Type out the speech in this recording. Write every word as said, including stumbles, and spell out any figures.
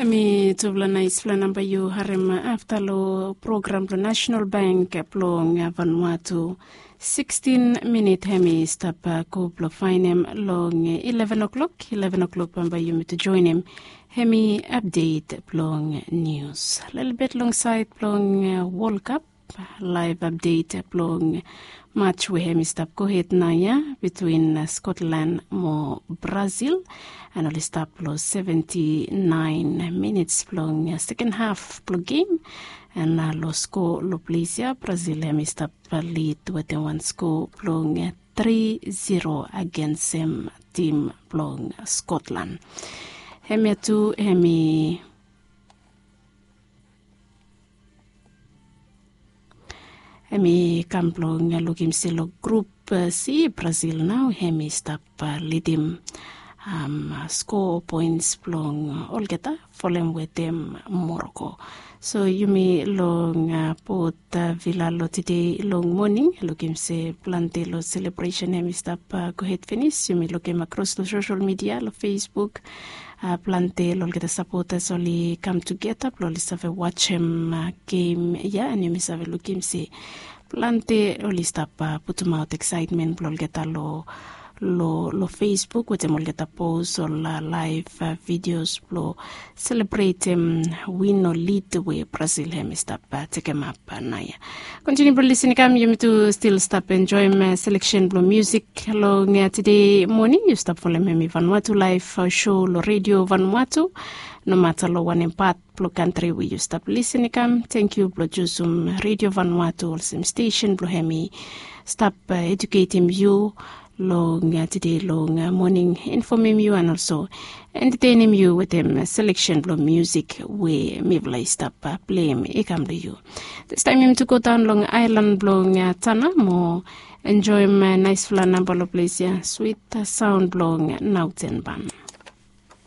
Mi tufala naispela namba yu harem afta long program blong National Bank blong Vanuatu. Sikstin minit hem i stap go blong fainem long ileven o'clock. Ileven o'clock bambae yumi tu joinim hem i update blong nius. Lelebet long sait blong World Cup, live update blong match we hem i stap gohed naoia between Scotland mo Brazil. And oli stap long seventy-nine minutes blong second half blong game. And long score long ples ia Brazil hem i stap lead wetem wan score blong three zero against hem tim blong Scotland. Hem ia tu hem i hem i kam blong lukim se long grup C Brazil nao hem i stap lidim score points blong olgeta folem wetem Morocco. So yumi long bot vila long tede long moning lukim se plante long selebresen hem i stap gohed finis. Yumi lukim akros long sosel midia long Facebook, plante long olgeta sapotas oli kam tugeta blong oli save wajem gem ia and yumi save lukim se plante oli stap putumaot eksaetmen blong olgeta long long Facebook wetem olgeta pos ol laev vidios blong selebretem win o lid we Brazil hem i stap tekemap naoia. Kontiniu blong lisin i kam yumi tu stil stap enjoim seleksen blong musik long tede moning. Yu stap folem hem i Vanuatu laev show long redio Vanuatu. Nomata long wanem pat blong kantri we yu stap lisin i kam, tangkiu blong jusum redio Vanuatu olsem stesen blong hem i stap eduketim yu long tede long moning, infomim yu and olso entetenim yu wetem seleksen blong musik we mifala i stap pleim i kam long yu. Distaem yumi tu go daon long aelan blong Tana mo enjoim naesfala namba long ples ia, swit saon blong Nauten Ban.